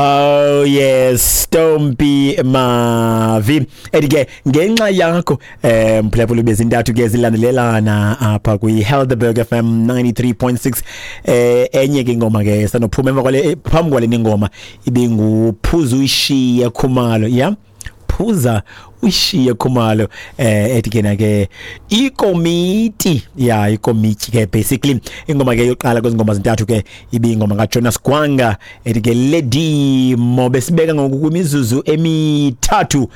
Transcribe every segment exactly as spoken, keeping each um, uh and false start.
Oh yes, Stompie Mavi. Ethi ke ngenxa yakho eh mphulaphula bezintathu ke zilandelelana apha kwi Helderberg F M ninety-three point six. Eh enye ke ingoma ke sanophuma emva kwale phambi kwale ingoma ibinguphuza uyishiye Khumalo. Yeah. Phuza ushiye Khumalo eh ethi ke na ke ikomiti ya ikomiti ke basically ingoma ke yoqala kwezingoma zintathu ke ibingoma kaJonas Gwanga ethi ke Lady Mo. Besibeka ngoku kwimizuzu emithathu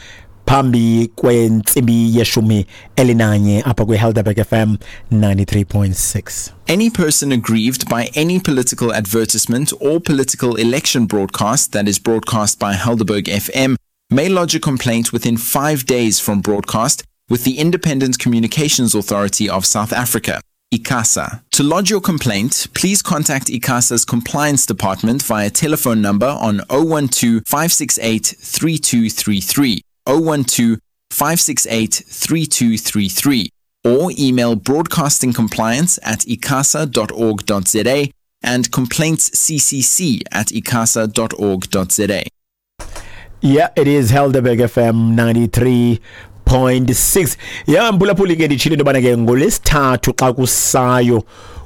phambi kwentsimbi yeshumi elinanye apha kwi Helderberg F M ninety-three point six. Any person aggrieved by any political advertisement or political election broadcast that is broadcast by Helderberg F M may lodge a complaint within five days from broadcast with the Independent Communications Authority of South Africa, ICASA. To lodge your complaint, please contact ICASA's Compliance Department via telephone number on oh one two, five six eight, three two three three, oh one two, five six eight, three two three three, or email broadcastingcompliance at icasa dot org dot z a and complaintsccc at icasa dot org dot z a. Yeah, it is Helderberg F M ninety-three point six. Yeah, mphulaphuli ke nditshilo into yobana ke ngolwesithathu xa kusayo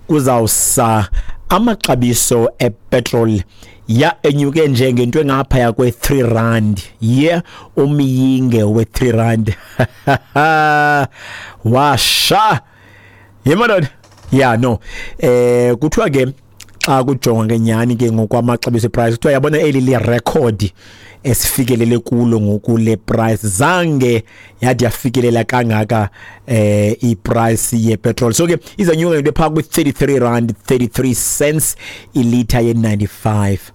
kuzawusa amaxabiso epetrol ya enyuke nje ngento engaphaya kwe-three rand. Yeah, umyinge we-three rand. Washa. Yemadoda. Yeah, no. Eh kuthiwa ke xa kujonga ke nyani ke ngokwamaxabiso price kuthiwa yabona eli li record esifikelele kulo ngoku le price zange yade yafikelela kangaka eh iprice ye petrol. So ke izanyuka into pha ku thirty-three rand thirty-three cents ilitha ye ninety-five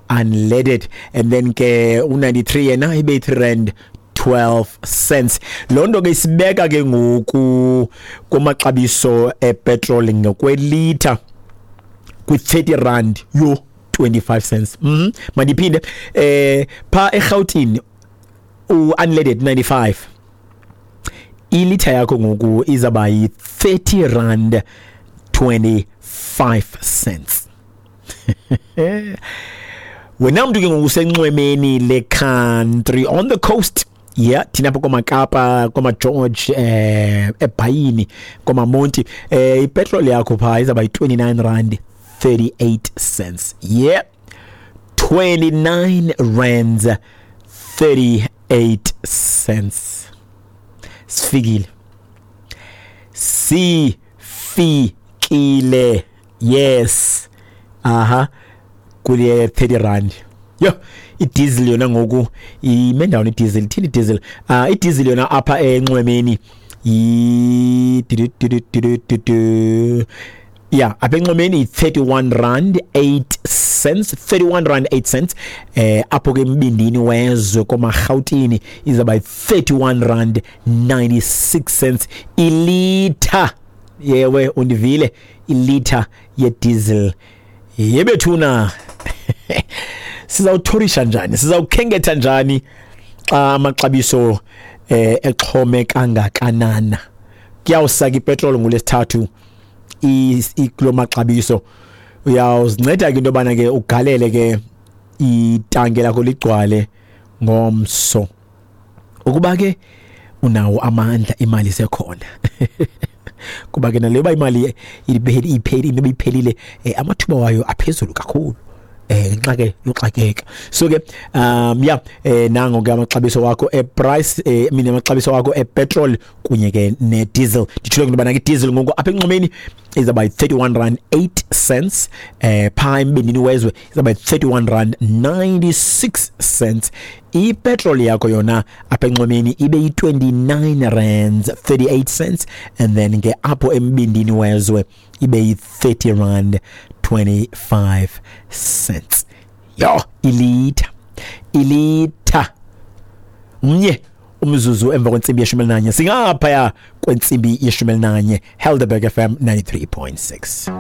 unleaded, and then ke u ninety-three yena ibe three rand twelve cents. Loo nto ke isibeka ke ngoku kumaxabiso epetrol ngokwelitha kwi thirty rand yo twenty-five cents. Mhm. Mandiphinde eh pha eGauteng u unleaded ninety-five ilitha yakho ngoku izaba yi thirty rand twenty-five cents. Wena mntu ke ngoku usenxwemeni le country on the coast. Yeah, thina apha komaKapa, komaGeorge, eh eBhayini, komaMonti, eh ipetrol yakho pha izaba yi twenty-nine rand thirty-eight cents. Yeah, twenty-nine rands thirty-eight cents. Sifikile. Sifikile. Yes. Aha. Kule thirty rand. Yo, i-diesel yona ngoku ime ndawoni i-diesel, ithini i-diesel? Ah, uh, i-diesel yona apha enxwemeni i yeah, apha enxwemeni i-thirty-one rand eight cents, thirty-one rand eight cents. Eh apho ke embindini wezwe komaRhawutini izaba yi-thirty-one rand ninety-six cents ilitha. Yewe undivile, ilitha ye-diesel. Yebethuna. Sizawuthorisha njani? Sizawukhenketha njani xa amaxabiso eh exhome kangakanana? Kuyawusaka ipetrol ngolwesithathu ikulo maxabiso. Uyawuzinceda ke into yobana ke ugalele ke itanke lakho ligcwale ngomso. Ukuba ke unawo amandla, imali isekhona. Kuba ke naleyo imali iphelile iphelile amathuba wayo aphezulu kakhulu. Eh nxa ke yoxakeka. So ke um yeah eh nango ke amaxabiso wakho e price eh mina amaxabiso wakho e petrol kunye ke ne diesel. Nditshilo ke bana ke diesel ngoku apha enxwemeni izaba yi-thirty-one rand eight cents, eh pha embindini wezwe izaba yi-thirty-one rand ninety-six cents. I-petrol yakho yona apha enxwemeni ibe yi-twenty-nine rands thirty-eight cents, and then ke apho embindini wezwe ibe yi-thirty rand twenty-five cents. Yo, ilitha ilitha mnye umzuzu emva kwentsimbi yeshumi elinanye, singaphaya kwentsimbi yeshumi elinanye. Helderberg F M ninety-three point six.